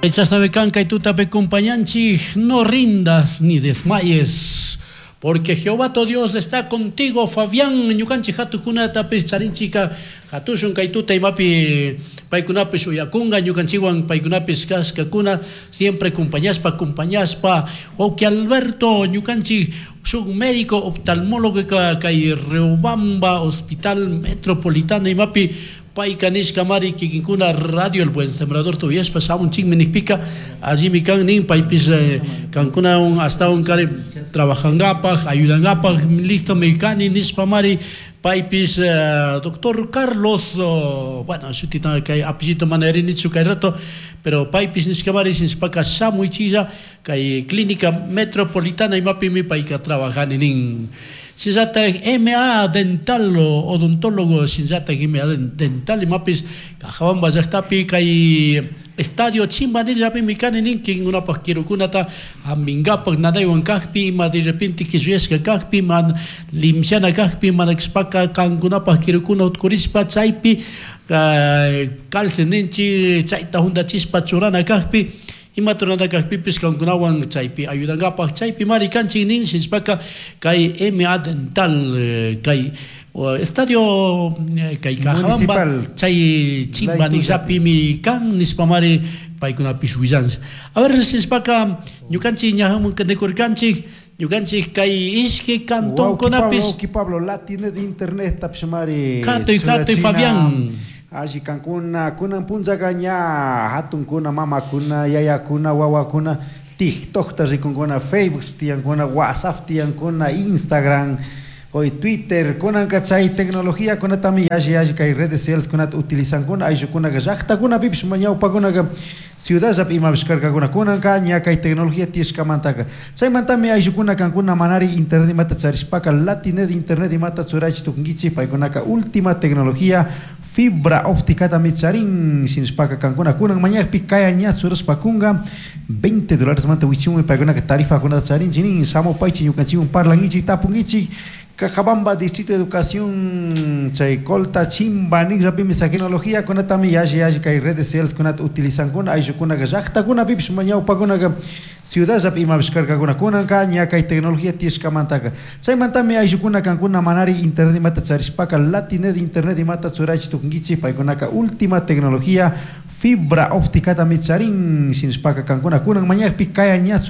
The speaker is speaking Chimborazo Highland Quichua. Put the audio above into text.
Chashnami kan kay tutapi compañanchik, no rindas ni desmayes, porque Jehová tu Dios está contigo. Fabián, ñukanchik hatukunatapis charinchika, hatushun kay tuta imapi paykunapish uyakunga ñukanchikwan paykunapis kashkakuna siempre compañashpa compañashpa. Wawki Alberto, ñukanchik shuk médico oftalmólogo kay Riobamba Hospital Metropolitano imapi payka nishka mari kikinkuna Radio El Buen Sembrador tuyashpa shamunchikmi nikpika allimi kan nin paypish kankunawan ashtawan kari trabajangapak ayudangapak listo mi kani nishpa mari paypish doctor Carlos, bueno, shutita kay apellito mana yarinichu kay rato, pero paypish nishka mari nishpaka shamuychilla kay Clínica Metropolitana imapimi payka trabajani nin. Shinllatak MA Dental, odontólogo, shinllatak MA Dental imapis Cajabamba llaktapi kay Estadio Chimbanillapimi kani nin kikinkunapak kirukunata hampinkapak nanaywan kakpi ima de repente killuyashka kakpi man limshana kakpi mana kashpaka kankunapak kirukuna utkurishpa chaypi calce ninchik chayta huntachishpa churana kakpi ima turana kakpipish kankunawan chaypi ayudankapak chaypi mari kanchik nin shinashpaka kay MA Dental kay estadio kay Cajabamba chay Chimbanillapimi kan nishpa mari paykunapish willanchik. A ver, shinashpaka ñukanchik ñajamun nikurkanchik ñukanchik kay ishki cantonkunapish. Wawki Pablo, Latinet internet tapish mari. Hatuy hatuy, Fabián. Alli kankuna kunan punllaka ña hatunkuna, mamakuna, yayakuna, wawakuna TikTokta rikunkuna, Facebook tiyankuna, WhatsApp tiyankuna, Instagram, hoy Twitter, kunanka chay tecnología kunatami yalli yalli kay redes sociales kunata utilizankuna ayllukunaka llaktakunapipish ñawpakunaka ciudadllapi imapish karkakuna kunanka ña kay tecnología tiyashkamantaka chaymantami ayllukuna kankuna manari internet imata charishpaka Latinet internet imata churaychi tukunkichik paykunaka última tecnología fibra ópticatami charin shinashpaka kankuna kunan mañakpi kaya ña churashpa kunga $20 manta wichunmi paykunaka tarifakunata charinchik nin shamupaychik ñukanchikwan parlankichik tapunkichik. Cajabamba Distrito de Educación chay Colta Chimba nishapimi tecnología kunatami yalli yalli kay redes sociales kunata utilizankuna ayllukunaka llaktakunapipish ñawpakunaka ciudadllapi imapish karkakuna kunanka ña kay tecnología tiyashkamantaka chaymantami ayllukuna kankuna manari internet imata charishpaka Latinet internet imata churaychi tukunkichik paykunaka última tecnología fibra ópticatami charin shinashpaka kankuna kunan mañakpi kaya ña.